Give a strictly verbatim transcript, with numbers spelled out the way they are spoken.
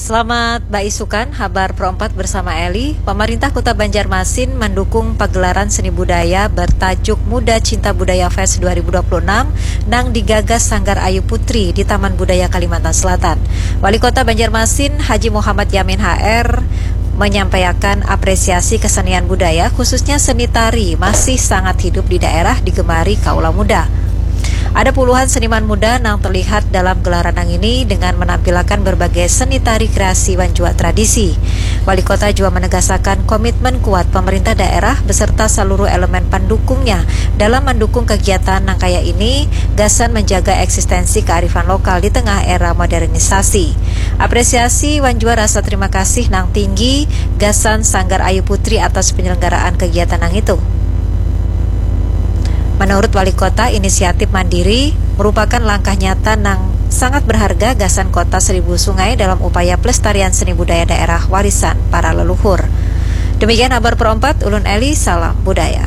Selamat baisukan, habar Pro empat bersama Eli. Pemerintah Kota Banjarmasin mendukung pagelaran seni budaya bertajuk Muda Cinta Budaya Fest dua ribu dua puluh enam nang digagas Sanggar Ayu Putri di Taman Budaya Kalimantan Selatan. Wali Kota Banjarmasin, Haji Muhammad Yamin H R, menyampaikan apresiasi kesenian budaya, khususnya seni tari, masih sangat hidup di daerah, digemari kaula muda. Ada puluhan seniman muda nang terlihat dalam gelaran nang ini dengan menampilakan berbagai seni tari kreasi wan jua tradisi. Wali Kota jua menegasakan komitmen kuat pemerintah daerah beserta seluruh elemen pendukungnya dalam mendukung kegiatan nang kaya ini, gasan menjaga eksistensi kearifan lokal di tengah era modernisasi. Apresiasi wan jua rasa terima kasih nang tinggi gasan Sanggar Ayu Putri atas penyelenggaraan kegiatan nang itu. Menurut Wali Kota, inisiatif mandiri merupakan langkah nyata nang sangat berharga gasan Kota Seribu Sungai dalam upaya pelestarian seni budaya daerah warisan para leluhur. Demikian habar Pro empat, ulun Eli, salam budaya.